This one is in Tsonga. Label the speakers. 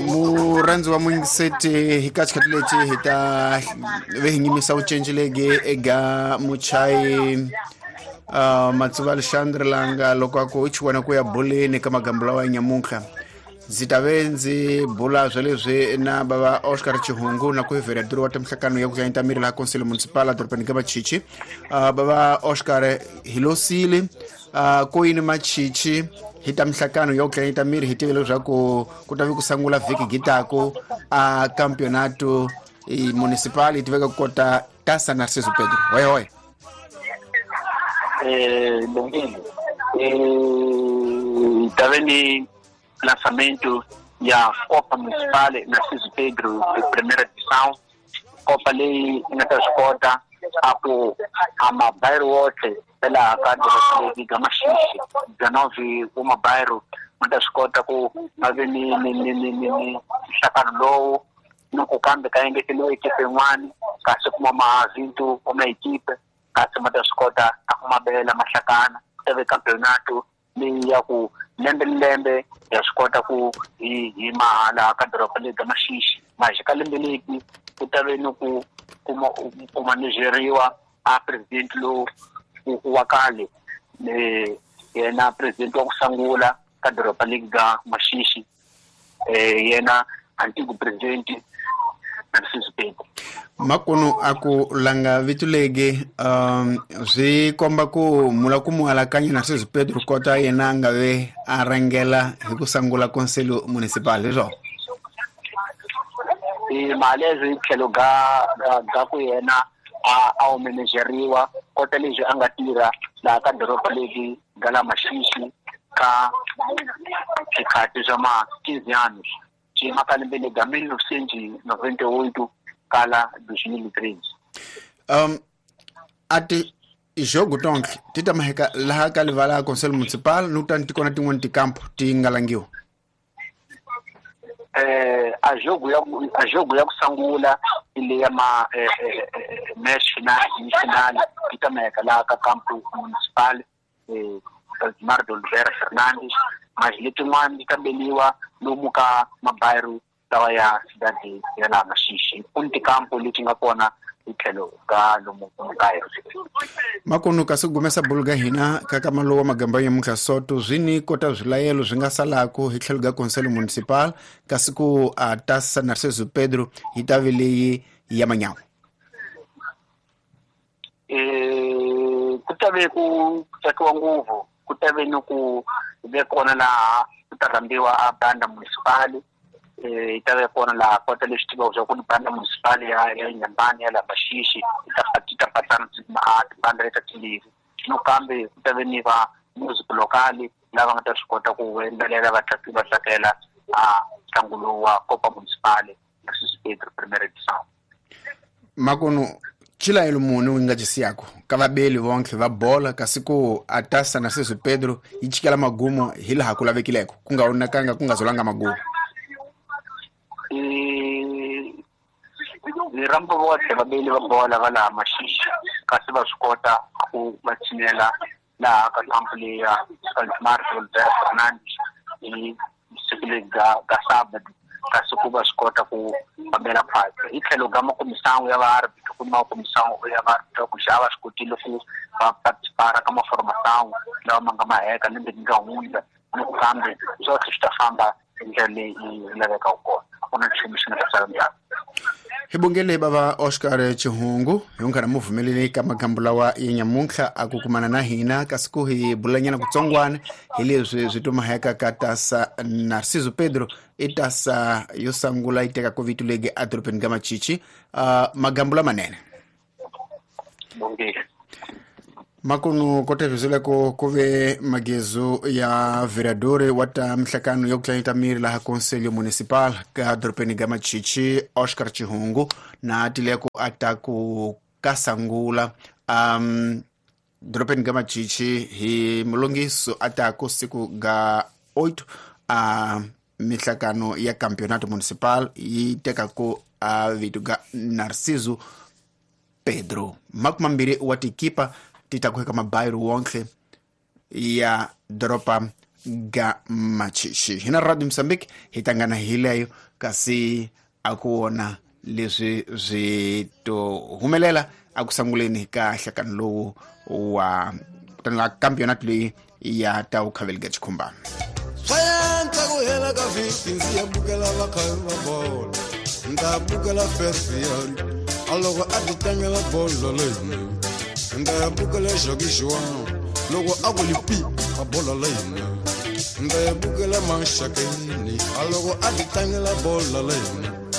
Speaker 1: Murhandzi wa muyingiseti hi ka xikhathi lexi hi ta ve hi nyimisa vucinci legi eka muchayi Matsuva Alexandre langa loko a ku i chiwana ku ya boleni ka magambo lawa ya nyamuntlha. Ndzi ta ve ndzi bula swa leswi na bava Oscar Chihungu na ku verador wa timhlakano ya ku tlanyeta miri laha Conselho Municipal edorobeni ka Machichi. Bava Oscar hi losile ko yini Machichi hi ta mihlakano ya ku tlanyeta miri hi tive leswaku ku ta ve ku sangula vhiki gitaku a campeonato municipal yi tiveka ku kota Taça Narciso Pedro. Hoi hoi.
Speaker 2: Lungile. Tave ni lançamento ya Copa Municipal Narciso Pedro de primeira edição. Copa leyi yi nga ta swi kota a ku a mabairo wotlhe ya laha ka doroba leri ga Maxixi 19 wa mabairo ma ta swi kota ku ma ve ni ni ni ni ni ni nhlakano lowu ni ku kambe ka engeteliwa ekipe yin'wani kasi kuma mavinto wa maekipe kasi ma ta swi kota a ku mabela mahlakana ku ta ve campeonato leyi ya ku lembe ni lembe ya swi kota ku hi hi mahala ka doroba leri ga Maxixi maje ka lembe leti ku ta ve ni ku kuma ku manejeriwa a president lowu wa kale yena president wa ku sungula ka doroba leri ga Maxixi yena antigo president Narciso Pedro.
Speaker 1: Makunu a ku langa vito legi swi komba ku mula ku mu alakanya Narciso Pedro kota yena a nga ve a rhangela hi ku sungula Conselho Municipal leswo
Speaker 2: mali leswi hi tlhelo ga ga ku yena a wu manejeriwa kota leswi a nga tirha laha ka doroba leri ga la Maxixi ka swikhathi swa ma 15 anos xi ka lembe lega 1998 kala 2013.
Speaker 1: A ti jogo tonke ti ta maheka laha ka livala Conselho Municipal ni kutani ti kona tin'wani tikampo ti nga langiwa.
Speaker 2: A jogo ya a jogo ya ku sungula ile ya ma match final ni final ti ta maheka laha ka campo municipal Valdemar de Oliveira Fernandes mas letin'wana ti ta beliwa lomu ka mabairo lawa ya cidade ya laha Maxixi ku ni tikampo leti nga kona hi tlhelo ka lomu mabairo.
Speaker 1: Makunu kasi gumesa bulu ga hina ka kama lowa magamba ya muntlha soto swi ni kota swilayelo swi nga salaku hi tlhelo ga Conselho Municipal kasi ku a Taça Narciso Pedro yi ta ve leyi ya manyawa.
Speaker 2: Ku ta ve ku tsakiwa ngopfu ku ta ve ni ku ve kona laha ku ta rhambiwa a banda municipal yi ta ve kona laha kota leswi tivaka swa ku ni banda municipal ya Nyambani ya laha Maxixi yi ta ti ta patsana tibanda leta timbirhi no kambe ku ta ve ni va music local lava nga ta swi kota ku yimbelela va va tsakela a ntlangu lowu wa Copa Municipal Narciso Pedro Primeira Edição.
Speaker 1: Makunu chilayelo muni wu nga cisiyako ka vabeli vonkhe va bola kasi ku a Taça Narciso Pedro yi chikela magumo hi laha ku lavekileko ku nga onakanga ku nga zolanga magumo.
Speaker 2: Ni rhamba votlhe vabeli va bola va laha Maxixi kasi va swi kota ku va tshinela laha ka kampo leyi ya Valdemar de Oliveira Fernandes hi siku leri ga ga sábado kasi ku va swi kota ku fambela phasi hi tlhelo ga makomisango ya vaarbitro ku makomisango ya vaarbitro ku xa va swi kotile ku va participara ka maformasango lawa ma nga maheka lembe ri nga hundza ni ku kambe swotlhe swi ta famba hi ndlela leyi yi lavekaka kona a ku na nchumu xi nga ta sala ndzhaku.
Speaker 1: Hi bongele bava Oscar Chihungu hi nkarhi mu pfumeleli ka magambo lawa ya nyamuntlha a ku kumana na hina kasi ku hi bulanyana kutsongwana hi leswi swi tumaheka ka Taça Narciso Pedro i tasa yo sungula yi tekaka vito legi edorobeni ka Machichi. Magambo lamanene.
Speaker 2: Bongile.
Speaker 1: Makunu kotevisile ku ku ve magezu ya vereador wa ta mihlakano ya ku tlanyeta miri laha Conselho Municipal ka dorobeni ga Machichi Oscar Chihungu na tileko a ta ku kasangula dorobeni ga Machichi hi mulongiso a ta ku siku ga 8 a mihlakano ya Campeonato Municipal yi teka ku a vito ga Narciso Pedro. 20 wa tikipa ti ta kuheka mabairo wonke ya doroba Ga Machishi. Hina Radio Mozambique hi tangana hi leyo, kasi a ku wona leswi swi to humelela a ku sanguleni ka hlakani lowu wa kutani campionat leyi ya ta wu khavelika chikhumbana.
Speaker 3: Swayantswa ku hela ka vhiki ndzi ya bukela vakhavi va bolo, ni ta bukela ferfiari a loko a ti tlangela bolo leyinene, ni ta ya bukela xakixiwana loko a ku lipi a bolo leyinene, ni ta ya bukela maxakeni a loko a ti tlangela bolo leyinene.